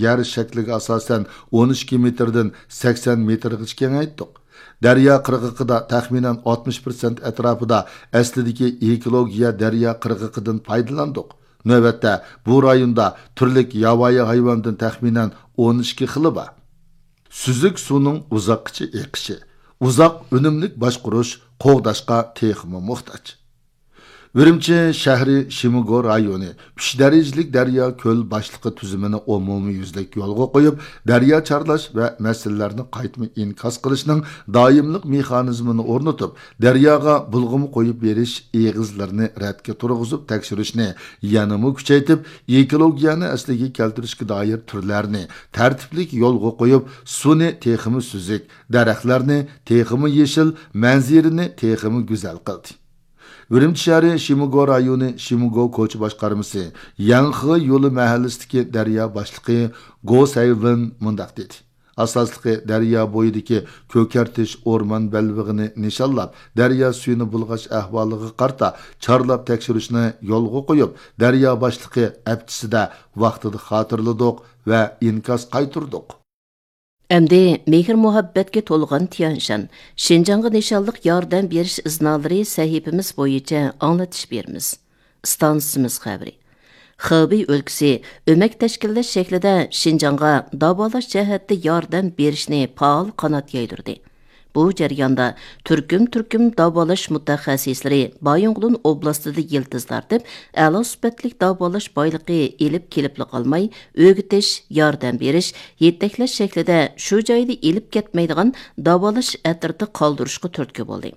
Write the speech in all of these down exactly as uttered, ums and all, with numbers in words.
يەر شەكلىگە ئاساسەن ئون ئىككى مېتىردىن سەكسەن مېتىرغىچە كېڭەيتتۇق. دەريا قىرغىقىدا تەخمىنەن ئاتمىش پىرسەنت ئەتراپىدا ئەسلىدىكى ئېكولوگىيە دەريا قىرغىقىدىن پايدىلاندۇق. نۆۋەتتە بۇ رايوندا تۈرلۈك ياۋايى ھايۋاندىن تەخمىنەن ئون ئىككى خىلى بار. سۈزۈك سۇنىڭ ئۇزاققىچە ئېقىشى، ئۇزاق ئۈنۈملۈك باشقۇرۇش قوغداشقا تېخىمۇ موھتاج. ئۈرۈمچى شەھىرى شىمىگو رايونى ئۈچ دەرىجىلىك دەريا كۆل باشلىقى تۈزۈمىنى ئومۇميۈزلۈك يولغا قويۇپ، دەريا چارلاش ۋە مەسىلىلەرنى قايتما ئىنكاس قىلىشنىڭ دائىملىق مېخانىزمىنى ئورنىتىپ، دەرياغا بۇلغىما قويۇپ بېرىش ئېغىزلىرىنى رەتكە تۇرغۇزۇپ تەكشۈرۈشنى يەنىمۇ كۈچەيتىپ، ئېكولوگىيەنى ئەسلىگە كەلتۈرۈشكە دائىر تۈرلەرنى تەرتىپلىك يولغا قويۇپ، سۇنى تېخىمۇ سۈزۈك، دەرەخلەرنى تېخىمۇ يېشىل، مەنزىرىنى تېخىمۇ گۈزەل قىلدى. ئۈرۈمچى شەھىرى شىمىگو رايونى شىمىگو كوچا باشقارمىسى يەڭخې يولى مەھەللىسىدىكى دەريا باشلىقى گو سەيۋېن مۇنداق دېدى: ئاساسلىقى دەريا بويىدىكى كۆكەرتىش ئورمان بەلبېغىنى نىشانلاپ، دەريا سۈيىنى بۇلغاش ئەھۋالىغا قارىتا چارلاپ تەكشۈرۈشنى يولغا قويۇپ، دەريا باشلىقى ھەپتىسىدە ۋاقتىدا خاتىرىلىدۇق ۋە ئىنكاس قايتۇردۇق. ئەمدى مېھىر-مۇھەببەتكە تولغان تيەنشان، شىنجاڭغا نىشانلىق ياردەم بېرىش ئىزنالىرى سەھىپىمىز بويىچە ئاڭلىتىش بېرىمىز. ئىستانسىمىز خەۋىرى. خېبېي ئۆلكىسى ئۆمەك تەشكىللەش شەكلىدە شىنجاڭغا داۋالاش جەھەتتە ياردەم بېرىشنى پائال قانات يايدۇردى. بۇ جەرياندا تۈركۈم-تۈركۈم داۋالاش مۇتەخەسسىسلىرى بايىنغولىن ئوبلاستىدا يىلتىز تارتىپ، ئەلا سۈپەتلىك داۋالاش بايلىقى ئېلىپ كېلىپلا قالماي، ئۆگىتىش، ياردەم بېرىش، يېتەكلەش شەكلىدە شۇ جايدا ئېلىپ كەتمەيدىغان داۋالاش ئەترىتى قالدۇرۇشقا تۈرتكە بولدى.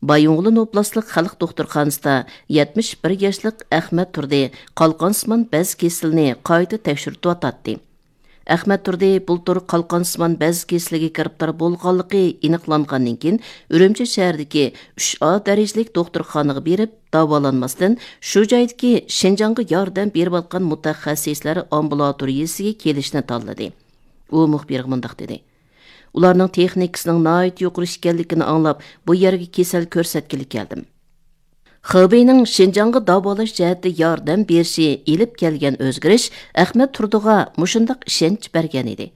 بايىنغولىن ئوبلاستلىق خەلق دوختۇرخانىسىدا يەتمىش بىر ياشلىق ئەخمەت تۇردى قالقانسىمان بەز كېسىلىنى قايتا تەكشۈرتۈۋاتاتتى. ئەخمەت تۇردى بۇلتۇر قالقانسىمان بەز كېسىلىگە گىرىپتار بولغانلىقى ئېنىقلانغاندىن كېيىن، ئۈرۈمچى شەھىرىدىكى ئۈچ ئا دەرىجىلىك دوختۇرخانىغا بېرىپ داۋالانماستىن، شۇ جايدىكى شىنجاڭغا ياردەم بېرىۋاتقان مۇتەخەسسىسلەر ئامبۇلاتورىيىسىگە كېلىشنى تاللىدى. ئۇ مۇخبىرغا مۇنداق دېدى: ئۇلارنىڭ تېخنىكىسىنىڭ ناھايىتى يۇقىرى ئىكەنلىكىنى ئاڭلاپ، بۇ يەرگە كېسەل كۆرسەتكىلى كەلدىم. خېبېينىڭ شىنجاڭغا داۋالاش جەھەتتە ياردەم بېرىشى ئېلىپ كەلگەن ئۆزگىرىش ئەخمەت تۇردىغا مۇشۇنداق ئىشەنچ بەرگەن ئىدى.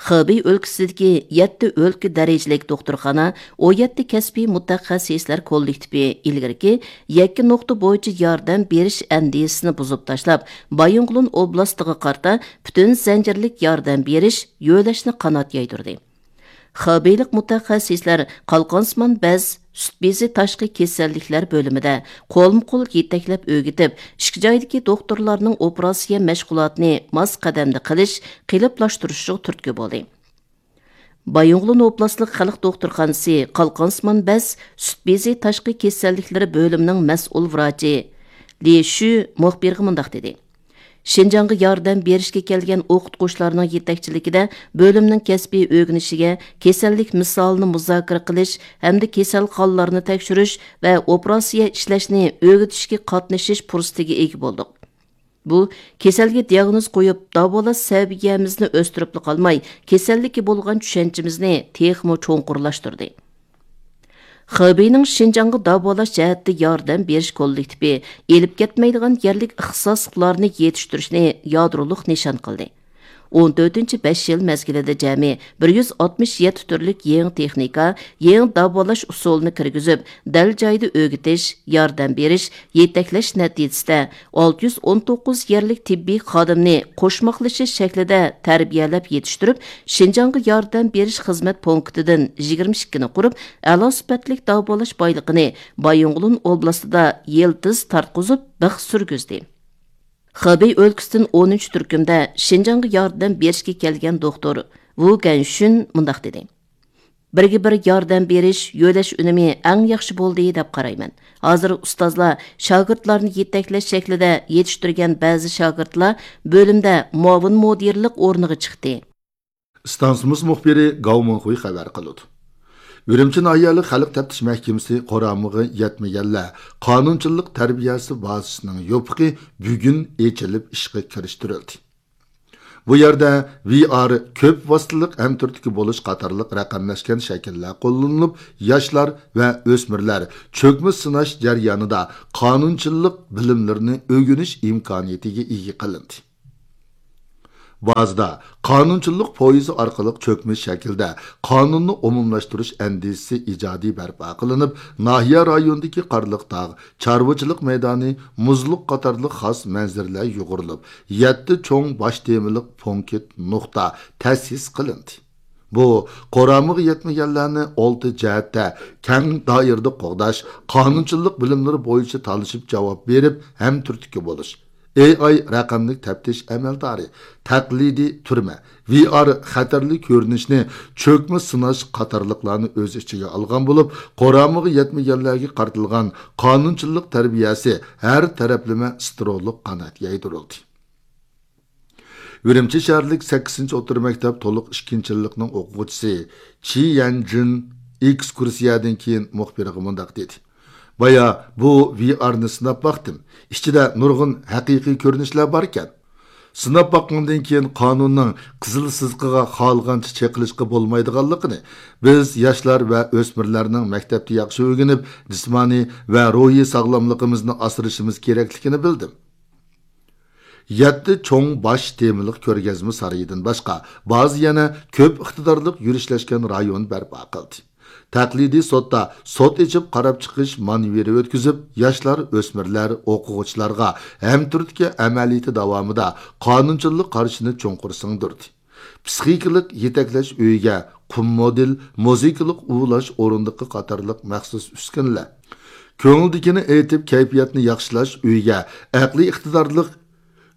خېبېي ئۆلكىسىدىكى يەتتە ئۆلكە دەرىجىلىك دوختۇرخانا، ئون يەتتە كەسپىي مۇتەخەسسىسلەر كوللېكتىپى ئىلگىرىكى يەككە نۇقتا بويىچە ياردەم بېرىش ئەندىزىسىنى بۇزۇپ تاشلاپ، بايىنغولىن ئوبلاستىغا قارىتا پۈتۈن زەنجىرلىك ياردەم بېرىش، يۆلەشنى قانات يايدۇردى. خېبېيلىق مۇتەخەسسىسلەر قالقانسىمان بەز، سۈت بېزى تاشقى كېسەللىكلەر بۆلۈمىدە قولمۇ قول يېتەكلەپ ئۆگىتىپ، ئىككى جايدىكى دوختۇرلارنىڭ ئوپېراتسىيە مەشغۇلاتىنى ماس قەدەمدە قىلىش، قېلىپلاشتۇرۇشىغا تۈرتكە بولدى. بايىنغولىن ئوبلاستلىق خەلق دوختۇرخانىسى قالقانسىمان بەز، سۈت بېزى تاشقى كېسەللىكلىرى بۆلۈمىنىڭ مەسئۇل ۋراچى لى شۈ مۇخبىرغا مۇنداق دېدى: شىنجاڭغا ياردەم بېرىشكە كەلگەن ئوقۇتقۇچىلارنىڭ يېتەكچىلىكىدە بۆلۈمنىڭ كەسپىي ئۆگىنىشىگە، كېسەللىك مىسالىنى مۇزاكىرە قىلىش ھەمدە كېسەلخانىلارنى تەكشۈرۈش ۋە ئوپېراتسىيە ئىشلەشنى ئۆگىتىشكە قاتنىشىش پۇرسىتىگە ئىگە بولدۇق. بۇ كېسەلگە دىئاگنوز قويۇپ، داۋالاش سەۋىيەمىزنى ئۆستۈرۈپلا قالماي، كېسەللىككە بولغان چۈشەنچىمىزنى تېخىمۇ چوڭقۇرلاشتۇردى. خېبېينىڭ شىنجاڭغا داۋالاش جەھەتتە ياردەم بېرىش كوللېكتىپى ئېلىپ كەتمەيدىغان يەرلىك ئىختىساسلىقلارنى يېتىشتۈرۈشنى يادرولۇق نىشان قىلدى. ئون تۆتىنچى بەش يىل مەزگىلىدە جەمئىي بىر يۈز ئاتمىش يەتتە تۈرلۈك يېڭى تېخنىكا، يېڭى داۋالاش ئۇسۇلىنى كىرگۈزۈپ، دەل جايىدا ئۆگىتىش، ياردەم بېرىش، يېتەكلەش نەتىجىسىدە، ئالتە يۈز ئون توققۇز يەرلىك تېببىي خادىمنى قوشماقلىشىش شەكلىدە تەربىيەلەپ يېتىشتۈرۈپ، شىنجاڭغا ياردەم بېرىش خىزمەت پونكىتىدىن يىگىرمە ئىككىنى قۇرۇپ، ئەلا سۈپەتلىك داۋالاش بايلىقىنى بايىنغولىن ئوبلاستىدا يىلتىز تارتقۇزۇپ بىخ سۈرگۈزدى. خېبېي ئۆلكىسىدىن ئونىنچى تۈركۈمدە شىنجاڭغا ياردەم بېرىشكە كەلگەن دوختۇر ۋۇ گەنشۈن مۇنداق دېدى: بىرگە بىر ياردەم بېرىش، يۆلەش ئۈنۈمى ئەڭ ياخشى بولدى دەپ قارايمەن. ھازىر ئۇستازلار شاگىرتلارنى يېتەكلەش شەكلىدە يېتىشتۈرگەن بەزى شاگىرتلار بۆلۈمدە مۇئاۋىن مۇدىرلىق ئورنىغا چىقتى. ئىستانسىمىز مۇخبىرى گاۋ مىڭخۇي خەۋەر قىلىدۇ. ئۈرۈمچى ناھىيەلىك خەلق تەپتىش مەھكىمىسى قۇرامىغا يەتمىگەنلەر قانۇنچىلىق تەربىيەسى بازىسىنىڭ يوپۇقى بۈگۈن ئېچىلىپ ئىشقا كىرىشتۈرۈلدى. بۇ يەردە ۋى ئار، كۆپ ۋاسىتىلىق ھەمتۈرتكە بولۇش قاتارلىق رەقەملەشكەن شەكىللەر قوللىنىلىپ، ياشلار ۋە ئۆسمۈرلەر چۆكمە سىناش جەريانىدا قانۇنچىلىق بىلىملىرىنى ئۆگىنىش ئىمكانىيىتىگە ئىگە قىلىندى. بازىدا قانۇنچىلىق پويىزى ئارقىلىق چۆكمە شەكىلدە قانۇننى ئومۇملاشتۇرۇش ئەندىزىسى ئىجادىي بەرپا قىلىنىپ، ناھىيە رايونىدىكى قارلىق تاغ، چارۋىچىلىق مەيدانى، مۇزلۇق قاتارلىق خاس مەنزىرىلەر يۇغۇرۇلۇپ، يەتتە چوڭ باش تېمىلىق پونكىت نۇقتا تەسىس قىلىندى. بۇ قۇرامىغا يەتمىگەنلەرنى ئالتە جەھەتتە كەڭ دائىرىدە قوغداش، قانۇنچىلىق بىلىملىرى بويىچە تالىشىپ جاۋاب بېرىپ، ھەمتۈرتكە بولۇش، ئېي ئاي رەقەملىك تەپتىش ئەمەلدارى، تەقلىدىي تۈرمە، ۋى ئار خەتەرلىك كۆرۈنۈشنى چۆكمە سىناش قاتارلىقلارنى ئۆز ئىچىگە ئالغان بولۇپ، قۇرامىغا يەتمىگەنلەرگە قارىتىلغان قانۇنچىلىق تەربىيەسى ھەر تەرەپلىمە ستېرېئولۇق قانات يايدۇرۇلدى. ئۈرۈمچى شەھەرلىك سەككىزىنچى ئوتتۇرا مەكتەپ تولۇق ئىككىنچى يىللىقنىڭ ئوقۇغۇچىسى چى يەنجىن ئېكسكۇرسىيەدىن كېيىن مۇخبىرغا مۇنداق دېدى: «بايا بۇ ۋى ئارنى سىناپ باقتىم. ئىچىدە نۇرغۇن ھەقىقىي كۆرۈنۈشلەر باركەن. سىناپ باققاندىن كېيىن قانۇننىڭ قىزىل سىزىقىغا خالىغانچە چېقىلىشقا بولمايدىغانلىقىنى، بىز ياشلار ۋە ئۆسمۈرلەرنىڭ مەكتەپتە ياخشى ئۆگىنىپ، جىسمانىي ۋە روھىي ساغلاملىقىمىزنى ئاسرىشىمىز كېرەكلىكىنى بىلدىم.» يەتتە چوڭ باش تېمىلىق كۆرگەزمە سارىيىدىن باشقا، بازا يەنە كۆپ ئىقتىدارلىق يۈرۈشلەشكەن رايون بەرپا قىلدى. تەقلىدىي سوتتا سوت ئېچىپ قاراپ چىقىش مانېۋىرى ئۆتكۈزۈپ، ياشلار، ئۆسمۈرلەر، ئوقۇغۇچىلارغا ھەمتۈرتكە ئەمەلىيىتى داۋامىدا قانۇنچىلىق قارىشىنى چوڭقۇر سىڭدۈردى. پسىخىكىلىق يېتەكلەش ئۆيىگە قۇم مودېل، مۇزىكىلىق ئۇۋۇلاش ئورۇندۇقى قاتارلىق مەخسۇس ئۈسكۈنىلەر، كۆڭۈلدىكىنى ئېيتىپ، كەيپىياتنى ياخشىلاش ئۆيىگە ئەقلىي ئىقتىدارلىق،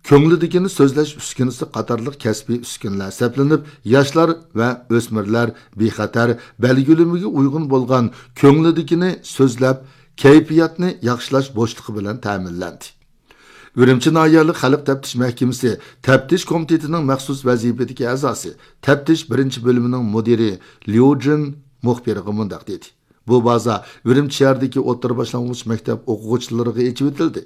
كۆڭلىدىكىنى سۆزلەش ئۈسكۈنىسى قاتارلىق كەسپىي ئۈسكۈنىلەر سەپلىنىپ، ياشلار ۋە ئۆسمۈرلەر بىخەتەر بەلگىلىمىگە ئۇيغۇن بولغان كۆڭلىدىكىنى سۆزلەپ، كەيپىياتنى ياخشىلاش بوشلۇقى بىلەن تەمىنلەندى. ئۈرۈمچى ناھىيەلىك خەلق تەپتىش مەھكىمىسى تەپتىش كومىتېتىنىڭ مەخسۇس ۋەزىپىدىكى ئەزاسى، تەپتىش بىرىنچى بۆلۈمىنىڭ مۇدىرى ليۇ جىن مۇخبىرغا مۇنداق دېدى: «بۇ بازا ئۈرۈمچى شەھىرىدىكى ئوتتۇرا باشلانغۇچ مەكتەپ ئوقۇغۇچىلىرىغا ئېچىۋېتىلدى.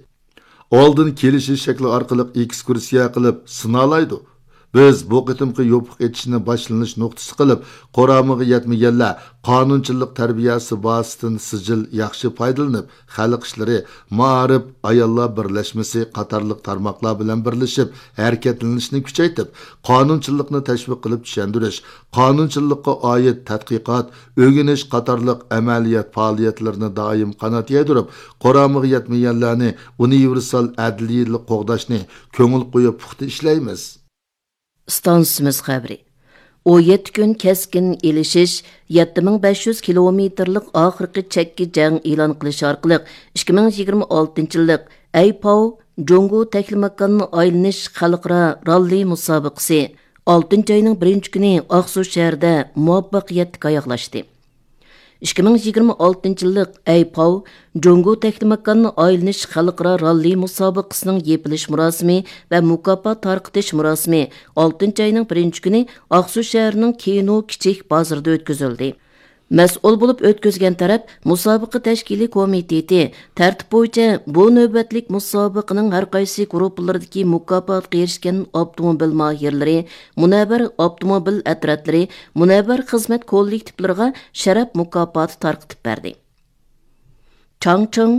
ئالدىن كېلىشىش شەكلى ئارقىلىق ئېكسكۇرسىيە قىلىپ سىنالايدۇ. بىز بۇ قېتىمقى يوپۇق ئېچىشنى باشلىنىش نۇقتىسى قىلىپ، قۇرامىغا يەتمىگەنلەر قانۇنچىلىق تەربىيەسى بازىسىدىن سىجىل ياخشى پايدىلىنىپ، خەلق ئىشلىرى، مائارىپ، ئاياللار بىرلەشمىسى قاتارلىق تارماقلار بىلەن بىرلىشىپ ھەرىكەتلىنىشنى كۈچەيتىپ، قانۇنچىلىقنى تەشۋىق قىلىپ چۈشەندۈرۈش، قانۇنچىلىققا ئائىت تەتقىقات، ئۆگىنىش قاتارلىق ئەمەلىيەت پائالىيەتلىرىنى دائىم قانات يايدۇرۇپ، قۇرامىغا يەتمىگەنلەرنى ئۇنىۋېرسال ئەدلىيلىك قوغداشنى كۆڭۈل قويۇپ پۇختا ئىشلەيمىز.» ئىستانسىمىز خەۋىرى. ئون يەتتە كۈن كەسكىن ئېلىشىش، يەتتە مىڭ بەش يۈز كىلومېتىرلىق ئاخىرقى چەككە جەڭ ئېلان قىلىش ئارقىلىق، ئىككى مىڭ يىگىرمە ئالتىنچى يىللىق ئەيپاۋ جۇڭگو تەكلىماكاننى ئايلىنىش خەلقئارا راللى مۇسابىقىسى ئالتىنچى ئاينىڭ بىرىنچى كۈنى ئاقسۇ شەھىرىدە مۇۋەپپەقىيەتلىك ئاياغلاشتى. ئىككى مىڭ يىگىرمە ئالتىنچى يىللىق ئەيپاۋ جۇڭگو تەكلىماكاننى ئايلىنىش خەلقئارا راللى مۇسابىقىسىنىڭ يېپىلىش مۇراسىمى ۋە مۇكاپات تارقىتىش مۇراسىمى ئالتىنچى ئاينىڭ بىرىنچى كۈنى ئاقسۇ شەھىرىنىڭ كىنو كىچىك بازىرىدا ئۆتكۈزۈلدى. مەسئۇل بولۇپ ئۆتكۈزگەن تەرەپ مۇسابىقە تەشكىلىي كومىتېتى تەرتىپ بويىچە بۇ نۆۋەتلىك مۇسابىقىنىڭ ھەر قايسى گۇرۇپپىلىرىدىكى مۇكاپاتقا ئېرىشكەن ئاپتوموبىل ماھىرلىرى، مۇنەۋۋەر ئاپتوموبىل ئەترەتلىرى، مۇنەۋۋەر خىزمەت كوللېكتىپلىرىغا شەرەپ مۇكاپاتى تارقىتىپ بەردى. چاڭچىڭ،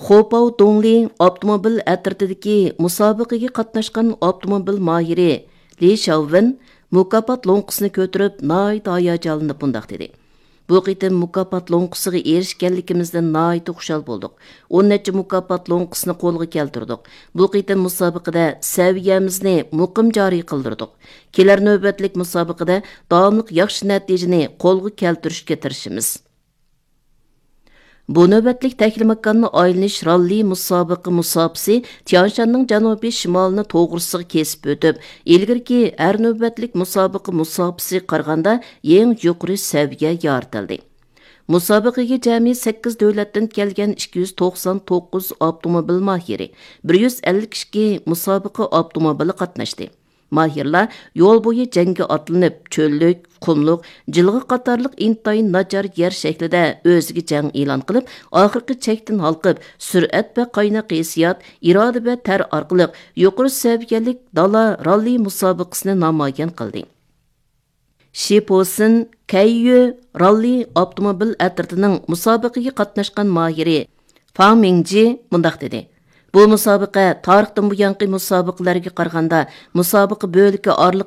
خوپاۋ دۇڭلى ئاپتوموبىل ئەترىتىدىكى مۇسابىقىگە قاتناشقان ئاپتوموبىل ماھىرى لى شياۋۋېن مۇكاپات لوڭقىسىنى كۆتۈرۈپ، ناھايىتى ھاياجانلىنىپ مۇنداق دېدى: «بۇ قېتىم مۇكاپات لوڭقىسىغا ئېرىشكەنلىكىمىزدىن ناھايىتى خۇشال بولدۇق. ئون نەچچە مۇكاپات لوڭقىسىنى قولغا كەلتۈردۇق. بۇ قېتىم مۇسابىقىدە سەۋىيەمىزنى مۇقىم جارى قىلدۇردۇق. كېلەر نۆۋەتلىك مۇسابىقىدە داۋاملىق ياخشى نەتىجىنى قولغا كەلتۈرۈشكە تىرىشىمىز.» بۇ نۆۋەتلىك تەكلىماكاننى ئايلىنىش راللى مۇسابىقە مۇساپىسى تيانشاننىڭ جەنۇبىي شىمالىنى توغرىسىغا كېسىپ ئۆتۈپ، ئىلگىرىكى ھەر نۆۋەتلىك مۇسابىقە مۇساپىسىگە قارىغاندا يېڭى يۇقىرى سەۋىيە يارىتىلدى. مۇسابىقىگە جەمئىي سەككىز دۆلەتتىن كەلگەن ئىككى يۈز توقسان توققۇز ئاپتوموبىل ماھىرى، بىر يۈز ئەللىك ئىككى مۇسابىقە ئاپتوموبىلى قاتناشتى. ماھىرلار يول بويى جەڭگە ئاتلىنىپ، چۆللۈك، قۇملۇق، جىلغا قاتارلىق ئىنتايىن ناچار يەر شەكلىدە ئۆزىگە جەڭ ئېلان قىلىپ، ئاخىرقى چەكتىن ھالقىپ، سۈرئەت ۋە قايناق ھېسسىيات، ئىرادە ۋە تەر ئارقىلىق يۇقىرى سەۋىيەلىك دالا راللى مۇسابىقىسىنى نامايان قىلدى. شىپوسىن كەييۈ راللى ئاپتوموبىل ئەترىتىنىڭ مۇسابىقىگە قاتناشقان ماھىرى فاڭ مىڭجى مۇنداق دېدى: بۇ مۇسابىقە تارىختىن بۇيانقى مۇسابىقىلەرگە قارىغاندا مۇسابىقە بۆلىكى ئارىلىق